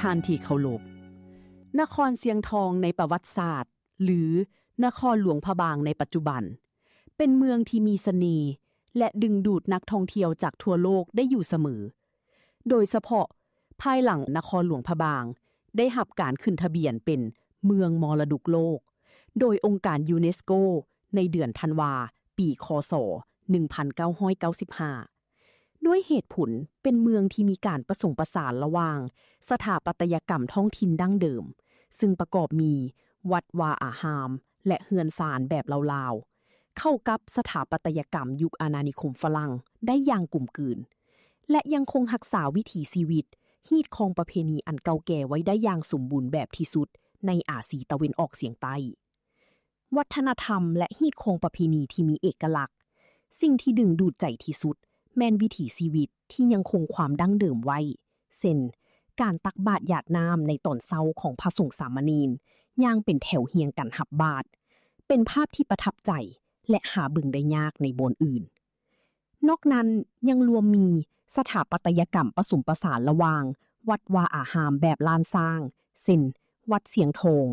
ທ່ານທີ່ເຄົາລົບ, ນະຄອນຊຽງທອງໃນປະຫວັດສາດ ຫຼື ນະຄອນຫຼວງພະບາງໃນປັດຈຸບັນ ເປັນເມືອງທີ່ມີສະເໜ່ ແລະ ດຶງດູດນັກທ່ອງທ່ຽວຈາກທົ່ວໂລກໄດ້ຢູ່ສະເໝີ, ໂດຍສະເພາະພາຍຫຼັງນະຄອນຫຼວງພະບາງໄດ້ຮັບການຂຶ້ນທະບຽນເປັນເມືອງມໍລະດົກໂລກ ໂດຍອົງການຢູເນສໂກ ໃນເດືອນທັນວາ ປີ ຄ.ສ. ໜຶ່ງພັນເກົ້າຮ້ອຍເກົ້າສິບຫ້າ ດ້ວຍເຫດຜົນເປັນເມືອງທີ່ມີການປະສົມປະສານລະຫວ່າງສະຖາປັດຕະຍະກຳທ້ອງຖິ່ນດັ້ງເດີມ, ຊຶ່ງປະກອບມີວັດວາອາຮາມ ແລະ ເຮືອນຊານແບບລາວໆ, ເຂົ້າກັບສະຖາປັດຕະຍະກຳຍຸກອານານິຄົມຝຣັ່ງໄດ້ຢ່າງກົມກືນ ແລະ ຍັງຄົງຮັກສາວິຖີຊີວິດ, ຮີດຄອງປະເພນີອັນເກົ່າແກ່ໄວ້ໄດ້ຢ່າງສົມບູນແບບທີ່ສຸດໃນອາຊີຕາເວັນອອກສຽງໃຕ້. ວັດທະນະທຳ ແລະ ຮີດຄອງປະເພນີທີ່ມີເອກະລັກ. ສິ່ງທີ່ດຶງດູດໃຈທີ່ສຸດແມ່ນວິຖີຊີວິດທີ່ຍັງຄົງຄວາມດັ້ງເດີມໄວ້, ເຊັ່ນ ການຕັກບາດຢາດນ້ຳໃນຕອນເຊົ້າຂອງພະສົງສາມະເນນ ຍ່າງເປັນແຖວຮຽງກັນຮັບບາດ, ເປັນພາບທີ່ປະທັບໃຈ ແລະ ຫາເບິ່ງໄດ້ຍາກໃນບ່ອນອື່ນ. ນອກນັ້ນຍັງລວມມີສະຖາປັດຕະຍະກຳປະສົມປະສານລະຫວ່າງວັດວາອາຮາມແບບລ້ານຊ້າງ ເຊັ່ນ ວັດຊຽງທອງ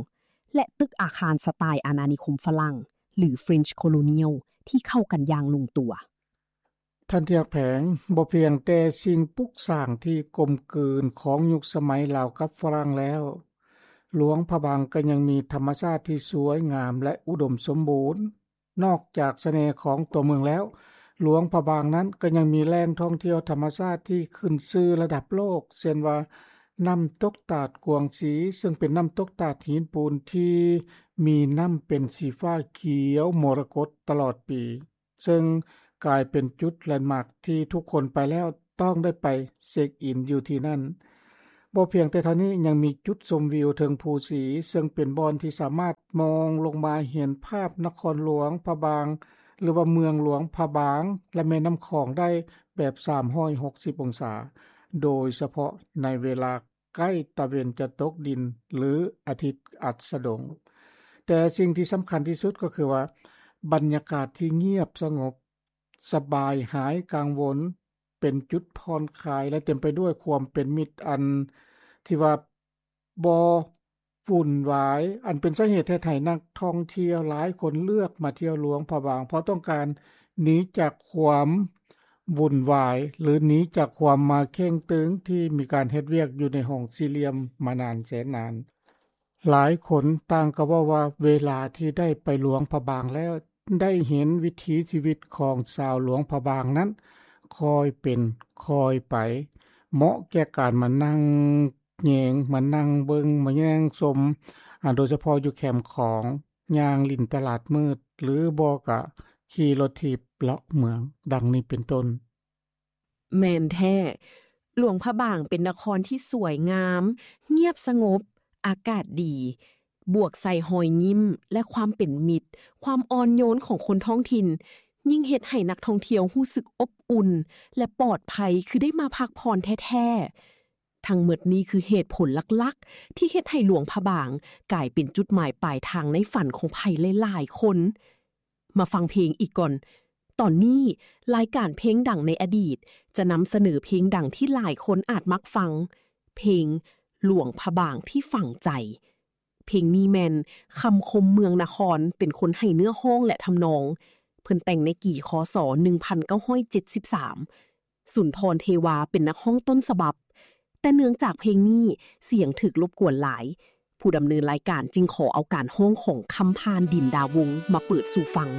ແລະ ຕຶກອາຄານສະໄຕລ໌ອານານິຄົມຝຣັ່ງ ຫຼື French Colonial ທີ່ເຂົ້າກັນຢ່າງລົງຕົວ. ທ່ານທີ່ຮັກແພງ, ບໍ່ພຽງແຕ່ສິ່ງປຸກສ້າງທີ່ກົມກືນຂອງຍຸກສະໄໝລາວກັບຝຣັ່ງແລ້ວ, ຫຼວງພະບາງກໍຍັງມີທຳມະຊາດທີ່ສວຍງາມ ແລະ ອຸດົມສົມບູນ. ນອກຈາກສະເໜ່ຂອງຕົວເມືອງແລ້ວ, ຫຼວງພະບາງນັ້ນກໍຍັງມີແຫຼ່ງທ່ອງທ່ຽວທຳມະຊາດທີ່ຂຶ້ນຊື່ລະດັບໂລກ, ເຊັ່ນວ່າ ນ້ຳຕົກຕາດກວາງຊີ, ເຊິ່ງເປັນນ້ຳຕົກຕາດຫີນປູນທີ່ມີນ້ຳເປັນສີຟ້າຂຽວມໍລະກົດຕະຫຼອດປີ, ເຊິ່ງກາຍເປັນຈຸດແລນມາກທີ່ທຸກຄົນໄປແລ້ວຕ້ອງໄດ້ໄປເຊັກອິນຢູ່ທີ່ນັ້ນ. ບໍ່ພຽງແຕ່ເທົ່ານີ້, ຍັງມີຈຸດຊົມວິວເທິງພູສີ, ເຊິ່ງເປັນບ່ອນທີ່ສາມາດມອງລົງມາເຫັນພາບນະຄອນຫຼວງພະບາງ ຫຼືວ່າເມືອງຫຼວງພະບາງ ແລະ ແມ່ນ້ຳຂອງໄດ້ແບບສາມຮ້ອຍຫົກສິບອົງສາ, ໂດຍສະເພາະໃນເວລາໃກ້ຕາເວັນຈະຕົກດິນ ຫຼື ອາທິດອັດສະດົງ. ແຕ່ສິ່ງທີ່ສຳຄັນທີ່ສຸດກໍຄືວ່າ ບັນຍາກາດທີ່ງຽບສະຫງົບ, ສະບາຍ, ຫາຍກັງວົນ, ເປັນຈຸດຜ່ອນຄາຍ ແລະ ເຕັມໄປດ້ວຍຄວາມເປັນມິດ ອັນທີ່ວ່າບໍ່ວຸ່ນວາຍ, ອັນເປັນສາເຫດເຮັດໃຫ້ນັກທ່ອງທ່ຽວຫຼາຍຄົນເລືອກມາທ່ຽວຫຼວງພະບາງ ເພາະຕ້ອງການໜີຈາກຄວາມວຸ່ນວາຍ ຫຼື ໜີຈາກຄວາມມາເຄັ່ງຕຶງທີ່ມີການເຮັດວຽກຢູ່ໃນຫ້ອງສີ່ຫຼ່ຽມມານານແສນນານ. ຫຼາຍຄົນຕ່າງກໍເວົ້າວ່າເວລາທີ່ໄດ້ໄປຫຼວງພະບາງແລ້ວ ໄດ້ເຫັນວິຖີຊີວິດຂອງຊາວຫຼວງພະບາງນັ້ນຄ່ອຍເປັນຄ່ອຍໄປ, ເໝາະແກ່ການມານັ່ງແຍງ, ມານັ່ງເບິ່ງ, ມາແຍງຊົມ, ອາ, ໂດຍສະເພາະຢູ່ແຄມຂອງ, ຍ່າງຫຼິ້ນຕະຫຼາດມືດ ຫຼື ບໍ່ກະຂີ່ລົດຖີບເລາະເມືອງ, ດັ່ງນີ້ເປັນຕົ້ນ. ແມ່ນແທ້, ຫຼວງພະບາງເປັນນະຄອນທີ່ສວຍງາມ, ງຽບສະຫງົບ, ອາກາດດີ, ບວກໃສ່ຮອຍຍິ້ມ ແລະ ຄວາມເປັນມິດ, ຄວາມອ່ອນໂຍນຂອງຄົນທ້ອງຖິ່ນ, ຍິ່ງເຮັດໃຫ້ນັກທ່ອງທ່ຽວຮູ້ສຶກອົບອຸ່ນ ແລະ ປອດໄພ ຄືໄດ້ມາພັກຜ່ອນແທ້ໆ. ທັງໝົດນີ້ຄືເຫດຜົນຫຼັກໆ ທີ່ເຮັດໃຫ້ຫຼວງພະບາງກາຍເປັນຈຸດໝາຍປາຍທາງໃນຝັນຂອງໃຜຫຼາຍໆຄົນ. ມາຟັງເພງອີກກ່ອນ. ຕອນນີ້ລາຍການເພງດັງໃນອະດີດຈະນຳສະເໜີເພງດັງທີ່ຫຼາຍຄົນອາດມັກຟັງ, ເພງຫຼວງພະບາງທີ່ຝັງໃຈ. ເພງນີ້ແມ່ນຄຳຄົມເມືອງນະຄອນເປັນຄົນໃຫ້ເນື້ອຮ້ອງ ແລະ ທຳນອງ. ເພິ່ນແຕ່ງໃນກີ ຄ.ສ. ໜຶ່ງພັນເກົ້າຮ້ອຍເຈັດສິບສາມ. ສຸນທອນ ເທວາ ເປັນນັກຮ້ອງຕົ້ນສະບັບ, ແຕ່ເນື່ອງຈາກເພງນີ້ສຽງຖືກລົບກວນຫຼາຍ, ຜູ້ດຳເນີນລາຍການຈຶ່ງຂໍເອົາການຮ້ອງຂອງຄຳຜ່ານ ດິນດາວົງ ມາເປີດສູ່ຟັງ.